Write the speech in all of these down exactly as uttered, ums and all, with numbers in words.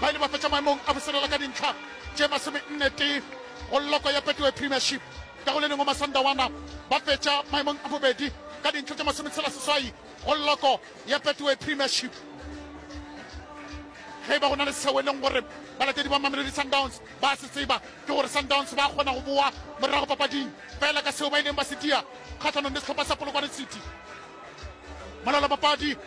Ba ile ba fetša maemong a boselela ka dintlha tše masomenne tee go loko ya Betway Premiership. Ka go le lengwe Masandawana ba fetša maemong a bobedi ka dintlha tše masometshela seswai go loko ya Betway Premiership. Ge e ba go na le seo e leng gore balatedi ba Mamelodi Sundowns ba se tseba, ke gore Sundowns ba kgona go boa morago papading fela ka seo ba ileng ba se dia kgahlanong le sehlopha sa Polokwane City. Molaolapapadi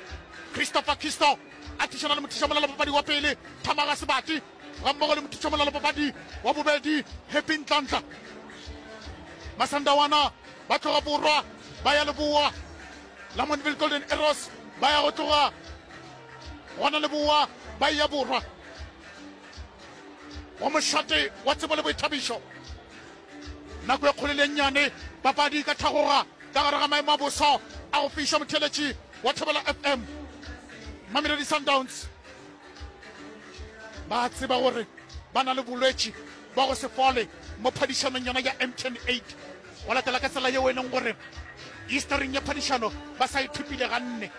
Christopher Kisto a thušana le mothušamolaolapapadi wa pele Thamaga Sebati gammogo le mothušamolaolapapadi wa bobedi Happy Ntlantla. Masandawana ba tloga borwa ba ya leboa, Lamontville Golden Arrows ba ya go tloga gona leboa ba ya borwa go mošate wa tsebo le boithabišo. Nako e kgolo le nnyane papadi ka thagoga ka gare ga maemo a boso a go fiša. Motheeletši wa Thobela F M, Mamelodi Sundowns ba tseba gore ba na le bolwetši ba go se fole mo phadišanong yona ya M T N eight, go latela ka tsela yeo e leng gore historing ya phadišano ba sa ithupile ganne.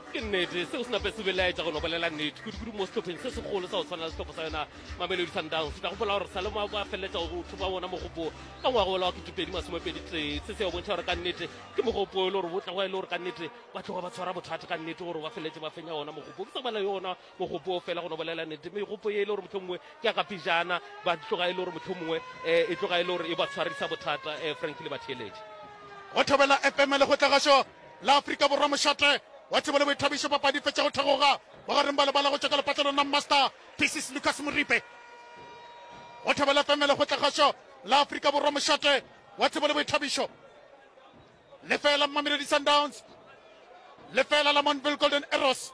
Ke nnete, seo se nape se belaetša go no bolela nnete, kudu-kudu mo sehlopheng se segolo sa go tshwana le sehlopha sa yona Mamelodi Sundowns. O tla gopola gore sa le ba feleletša go thopa wona mogopo ka ngwaga ola wa ketepedi masomepedi tee. Se se ya bontšha gore ka nnete ke mogopo e le gore bo tla e le gore ka nnete ba tloga ba tshwara bothata ka nnete gore ba feleletse ba fenya wona mogopo. Ke sa bolela yona mogopo o fela, go no bolela nnete, megopo ye e le gore motlho mongwe ke ya ka pejana ba tloga e le gore motlho mongwe um e tloga e le gore e ba tshwarisa bothata, um Frank le batheeletše. Go Thobela F M, le go tlagašo la Afrika Borwa, mošate wa tsebo le boithabišo. Papadi fetša go thegoga bogareng ba lebala go tšwa ka lepatlelo la Master Pieces Lucas Moripe. Go Thobela F M, le go tlagašo la Afrika Borwa, mošate wa tsebo le boithabišo. Lefela Mamelodi Sundowns, lefela Lamontville Golden Arrows.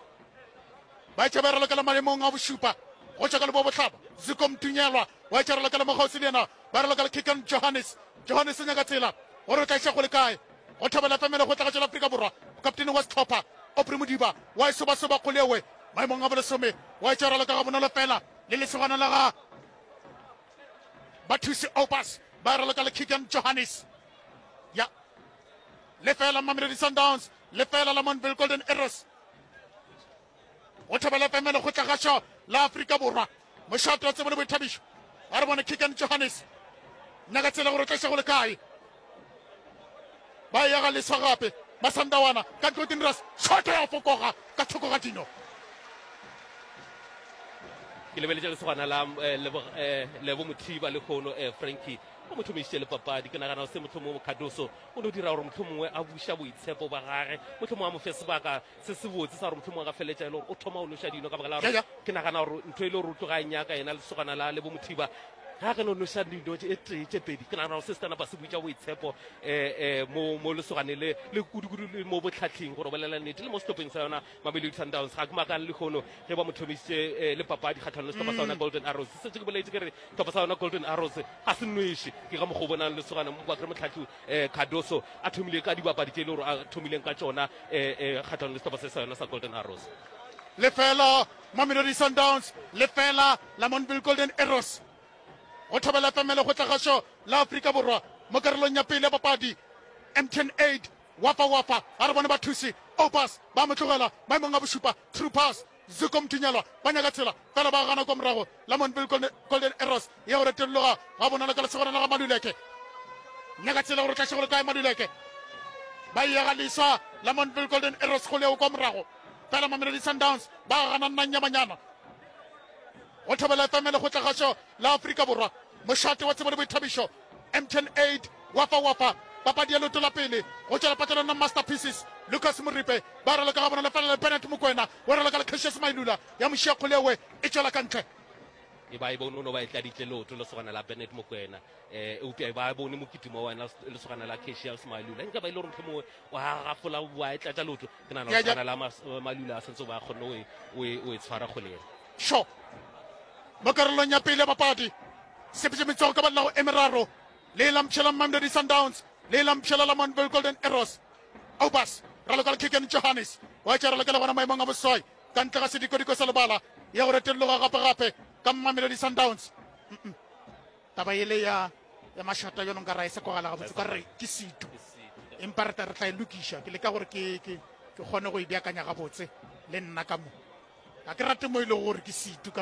Ba etša ba ralokela maemong a bošupa. Go tšwa ka leboa bohlaba, Zuko Mtunyelwa wa etša ralokela mo kgauswi le yena, ba ralokela Kikan Johannes. Johannes o nyaka tsela gore o tla iša go le kae. Go Thobela F M, le go tlagatšo la Afrika Borwa, kaptene wa sehlopha Aubrey Modiba wa e sobasoba kgolewe maemong a bolesome, wa etša raloka ga bonolo fela le lesogana la ga Bathusi Opas, ba raloka le Kikan Johannes. Ya lefela Mamelodi Sundowns, lefela Lamontville Golden Arrows. Go Thobela F M, le go tlagašo la Afrika Borwa, mošate wa tsebo le boithabišo. A re bone Kikan Johannes nyaka tsela gore o tla iša go le kae. Ba ya ga leswa gape Masandawana ka ntlo dinras shot ya fokoga ka thoko ga dino. Ke lebeletše lesogana la eh, Lebo- eh, lebo Mothiba le kgono, eh, Frankie o mo thomišitše le papadi. Ke nagana se motlho mongwe Cardoso o no dira gore motlho mongwe a buša boitshepo ba gage, motlho mongwe a mo fe sebaka se se botse sa gore motlho mongwe a ka feleletša e le gore o thoma o noša dino, ka baka la Ya, gore ya. ke nagana gore ntho e le gore o tloga a e nyaka yena lesogana la Lebo Mothiba. Ga ge no noša dino tše e tee, tše pedi, ke nagana gore se se tla napa se buša boitshepo um mo mo lesoganeng le le kudu-kudu le mo botlhatlhing, gore o bolela nnete, le mo sehlopheng sa yona Mamelodi Sundowns. Ga ke makale lehono ge ba mo thomišitše eh, le papadi kgatlhanong le sehlopha sa yona Golden Arrows. Setse ke boletse ke re sehlopha sa yona Golden Arrows ga se nweše. Ke ka mokgwa o bonang lesogana mo kre motlhatlhi um Cardoso a thomile ka dibapadi tše e le gore a thomileng ka tšona um kgatlhanong le sehlopha se sa yona sa Golden Arrows. Lefela Mamelodi Sundowns, lefela Lamontville Golden Arrows. Go Thobela F M, le go tlagašo la Afrika Borwa, mo karolong ya pele ya papadi M T N eight. Wafa wafa, a re bone bathusi Opas ba mo tlogela maemong a bošupa. True pass, Zuko Mtunyelwa, ba nyaka tsela fela ba gana kwa morago. Lamontville golden, golden Arrows ya go retolloga ga bonolo ka lesogana la ga Maluleke. Nyaka tsela gore tlaše go le kae Maluleke. Ba ya ga leswa Lamontville Golden Arrows go leo kwa morago fela Mamelodi Sundowns ba gana nnanyamanyana. Go Thobela F M, le go tlagašo la Afrika Borwa, mošate wa tsebo le boithabišo. M T N eight, wafa wafa, papadi ya leoto la pele go tšwela patlelong la Masterpieces Lucas Moripe, ba raloka ga bona lefela le Bennett Mokwena, wa raloka le Cassius Mailula, ya mošia kgolewe e tšwela ka ntle. E ba e bone o no ba e tladitše leoto lesogana la Bennett Mokwena, um eupša e ba e bone mokitimo wa wena lesogana la Cassius Mailula. Nka ba e le gore motlho mongwe wa gafola wa e tlatša leoto, ke nagana Ya, ya. lesogana la Mas- Mailula a santse ba kgonne o e- o e o e tshwara kgole ena. Sure, mo karolong ya pele ya papadi sepetse metsogo ka ballago e meraro, le lampšhela Mamelodi Sundowns, le lampšhela Lamontville Golden Arrows. Obas raloka le Kiken Johannes, wa tša ralokela gona maemong a boswai ka ntle ga sedikodiko sa lebala, ya go retolloga gape-gape ka Mamelodi Sundowns. Mm-mm. Taba ele ya ya mašata yone nka ra e se kwagala gabotse, ka re ke setu, empa re tla re tla e lokiša. Ke leka gore ke ke ke kgone go e beakanya gabotse le nna ka mo. Ga ke rate mo e lego gore ke setu ka lebaka